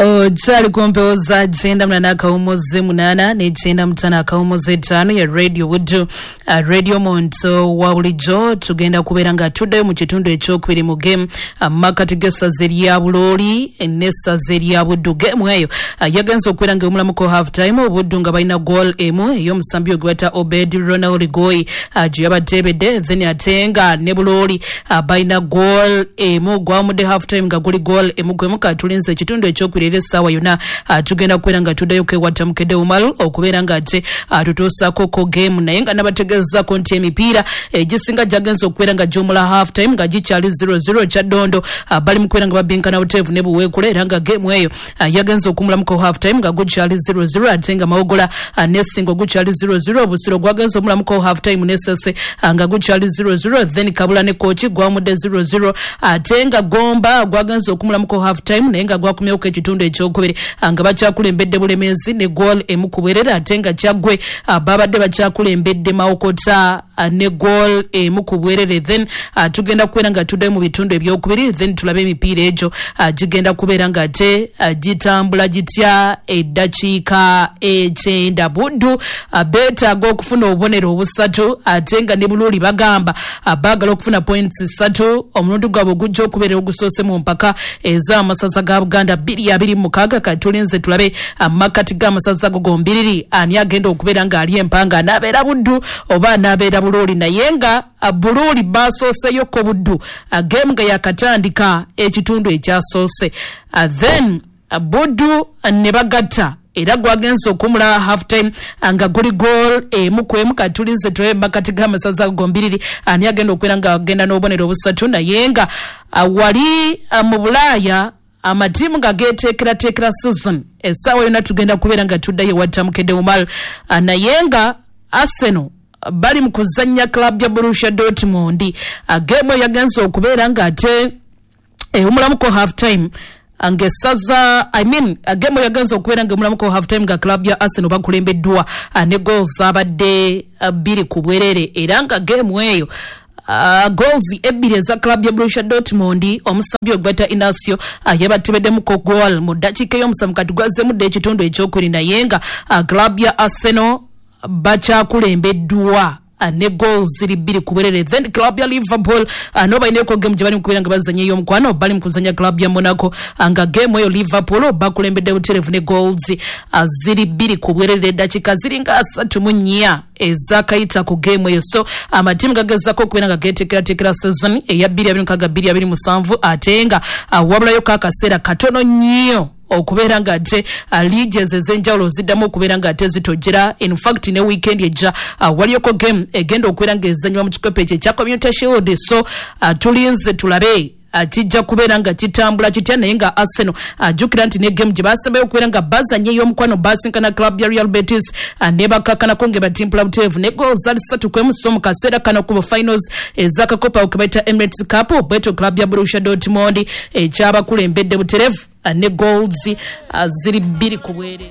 Okyali ku mpewo za 98.8 ne 95.5 ya Radio Buddu, Radio Muntu wa bulijjo. Tugenda kubeera nga tuddayo mu kitundu ekyokubiri mu game makati g'essaza erya Bulooli n'essaza erya Buddu. Game eyo yagenze okubeera nga emulamuko half time, Obuddu nga balina goal emu ey'omusambi ogwe bayita Obed Ronald Goy gye yabateebedde, then ate nga ne Bulooli balina goal emu. Gwawumudde half time nga guli goal emu gwemu. Katulinze ekitundu ekyokubiri era essaawa yonna tugenda kubeera nga tuddayo kwewatta Mukedde Umaru okubeera nga ate tutuusaako ko game, naye nga nabategeezaako nti emipiira egisinga gyagenze okubeera nga gyomula half time nga gikyali 0-0. Kyaddondo bali mu kubeera nga babinkana buteevu ne Buweekula, era nga game eyo yagenze okumulamuko half time nga gukyali 0-0, ate nga Mawogola ne Ssingo gukyali 0-0. Busiro gwagenze omulamuko half time ne Ssese nga gukyali 0-0, then Kabula ne Kooki gwawumudde 0-0, ate nga Gomba gwagenze okumulamuko half time naye nga gwakomyewoko ekitundu ekyokubiri nga bakyakulembedde Bulemeezi ne goal emu ku bwerere, ate nga Kyaggwe babadde bakyakulembedde Mawokota ne goal emu ku bwerere. Then tugenda kubeera nga tuddayo mu bitundu ebyokubiri, then tulabe emipiira egyo gigenda kubeera nga ate gitambula gitya. Eddakiika 90, Buddu beetaaga okufuna obubonero obusatu, ate nga ne Buluuli bagamba baagala okufuna points 3, omulundi gwabwe ogujja okubeera ogusoose mu mpaka ez'amasaza ga Buganda 2026. Katulinze tulabe amakati g'amasaza ago gombiriri ani agenda okubeera ng'ali empanga, anaabeera Buddu oba anaabeera Buluuli. Naye nga Buluuli basooseyoko Buddu game nga yakatandika ekitundu ekyasoose, then Buddu ne bagatta era gwagenze okumula half time nga guli goal emu ku emu. Katulinze tulabe makati g'amasaza gombiriri ani agenda okubeera nga agenda n'obubonero obusatu. Naye nga wali mu Bulaaya amatiimu nga geteekerateekera season, essaawa yonna tugenda kubeera nga tuddayo ewatta Mukedde Umar, naye nga Arsenal bali mu kuzannya club ya Borussia Dortmund. Game eyo yagenze okubeera nga ate ewumulamuko half time ng'essaza, I mean, game yagenze okubeera nga emulamuko half time nga club ya Arsenal bakulembeddwa ne goals zabadde 2 ku bwerere, era nga game eyo goals ebbiri eza club ya Borussia Dortmund, omusambi ogweta Inacio yabatebeddemuko goal mu ddakiika ey'omusanvu. Kati gwazzemu dda ekitundu ekyokubiri, naye nga club ya Arsenal bakyakulembeddwa ne goals ziri 2 ku bwerere. Then club ya Liverpool no balineko game gye bali mu kubeera nga bazannya ey'omukwano, bali mu kuzannya club ya Monaco, nga game eyo Liverpool bakulembedde butereevu ne goals ziri 2 ku bwerere, eddakiika ziringa 34 ezakayita ku game eyo. So amatiimu gagezaako okubeera nga geteekerateekera season eya 2026 2027, ate nga wabulayo akaseera katono nnyo okubeera nga ate leagues ez'enjawulo ziddamu okubeera nga ate zitojjera. In fact, ne weekend ejja waliyoko game egenda okubeera nga ezannyibwa mu kikopo ekyo ekya Community Shield. So tulinze tulabe kijja kubeera nga kitambula kitya. Naye nga Arsenal, ajjukira nti ne game gye basembayo okubeera nga bazannya ey'omukwano, basinkana club ya Real Betis ne bakakkanako nga batimpula buteevu ne goals zali 3-1. So mu kaseera kano ku finals ez'akakopo ako ke bayita Emirates Cup, bwetyo club ya Borussia Dortmund ekyabakulembedde butereevu ne goals ziri 2 ku bwerere.